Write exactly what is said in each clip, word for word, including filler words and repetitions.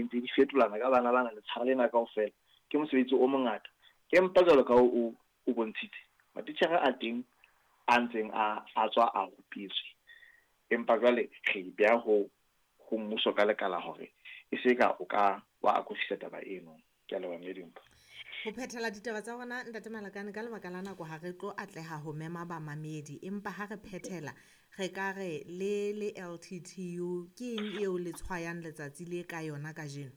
ntse di fetolana ka bana bana letshara lena kaofela. Ke mosebetsi o mongata. Empa jwalo ka o o bontshitse, matitjhere a teng a ntseng a a tswa a rupetswe. Empa jwale re beha ho ho mmuso ka lekala hore e se ka o ka wa akofisa taba eno. Ke a leboha mme Dimpho. Ho phethela ditaba tsa rona Ntate Malakane, ka lebaka la nako ha re tlo atleha ho mema bamamedi, empa ha re phethela re ka re le le L T T U ke eng eo le tshwayang letsatsi le ka yona kajeno?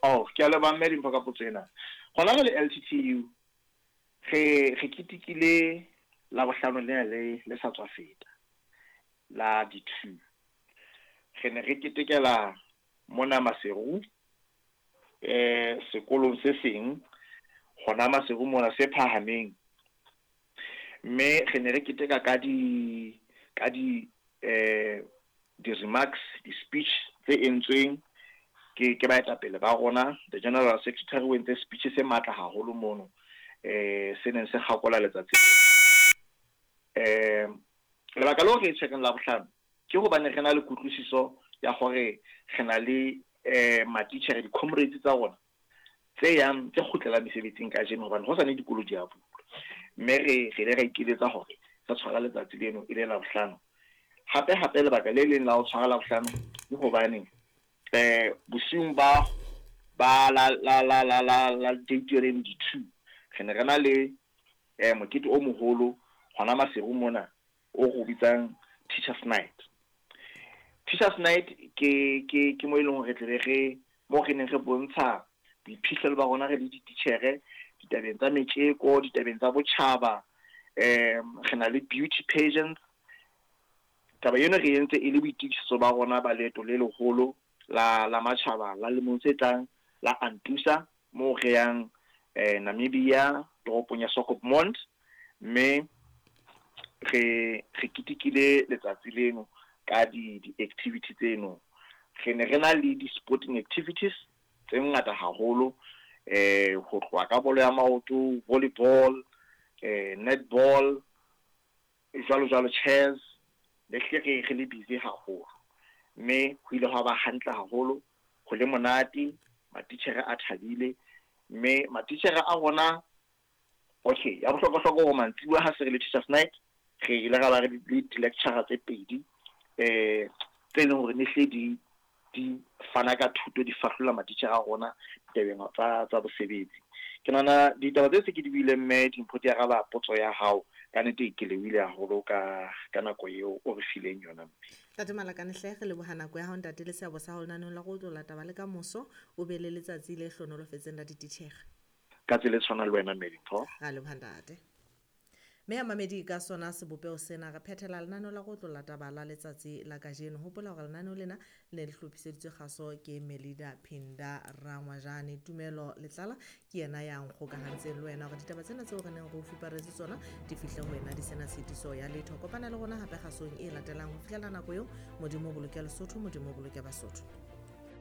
Oh, ke a leboha mme Dimpho ka potso ena. Hona re le L T T U re re ketekile Labohlano lena le le sa tswa feta la di two. Re ne re ketekela mona Maseru, eh sekolong se seng hona Maseru mona se phahameng, mme re ne re keteka ka di ka di eh di remarks, di speech tse entsweng ke ke baetapele ba rona. The General Secretary o entse speech se matla haholo mono, eh se neng se kgakola letsatsi. Eh lebaka leo re tshwereng Labohlano ke hobane re na le kutlwisiso ya hore re na le eh matitjhere, di-comrades tsa rona tse yang tse kgutlelang mesebetsing kajeno, hobane ho sane dikolo di a bulwa. Mme re re ile ra ikiletsa hore re tshwara letsatsi leno e le Labohlano. Hape hape lebaka le leng la ho tshwara Labohlano ke hobane eh bosiung ba ba la la la la la la date yone di two re ne re na le eh mokete o moholo hona Maseru mona o re o bitsang Teachers Night. Teachers Night ke ke ke mo e leng hore re tle re mo re neng re bontsha boiphihlelo ba rona re le dititjhere ditabeng tsa metjeko, ditabeng tsa botjhaba. Eh re na le beauty pageants. Taba eno re entse e le boitokisetso ba rona ba leeto le leholo la la matjhaba la lemong se tlang la Antusa, moo re yang eh Namibia, toropong ya Swakopmund, mme re re ketekile letsatsi leno ka di di-activity tseno. Re ne re na le di-sporting activities tse ngata haholo, eh ho tloha ka bolo ya maoto, volleyball, eh netball, jwalo jwalo, chess. Ne hlile re re le busy haholo, mme ho ile hwa ba hantle haholo, ho le monate, matitjhere a thabile, mme matitjhere a rona, okay, ya bohlokwa-hlokwa hore mantsibuya ha se re le Teachers Night, re ile ra ba re le di-lecture tse pedi eh tse leng hore ne hle di di fana ka thuto, di fahlolla matitjhere a rona ditabeng tsa tsa bosebetsi. Ke nahana ditaba tse se ke di buileng mme Dimpho di araba potso ya hao. Ka nnete ke lebohile haholo ka ka nako eo o re fileng yona. Ntate Malakane hle, re leboha nako ya hao ntate le seabo sa hao lenaneong la go tlola taba le ka moso. O be le letsatsi le hlohonolofetseng la dititjhere. Ka tsela e tshwanang le wena mme Dimpho. Ra leboha ntate. Mme ya mamedi ka sona sebopeho sena re phethela lenaneo la go tlola taba la letsatsi la kajeno. Hopola hore lenaneo lena le ne le hlophiseditswe kgaso ke Melida Phinda Rangwajane. Tumelo Letlala ke yena ya nkgokahantseng le wena hore ditaba tsena tseo re neng re o fuparetse tsona di fihle ho wena di sena tshitiso ya letho. Kopana le rona hape kgasong e latelang. Ho fihlela nako eo, Modimo o boloke Lesotho, Modimo o boloke Basotho.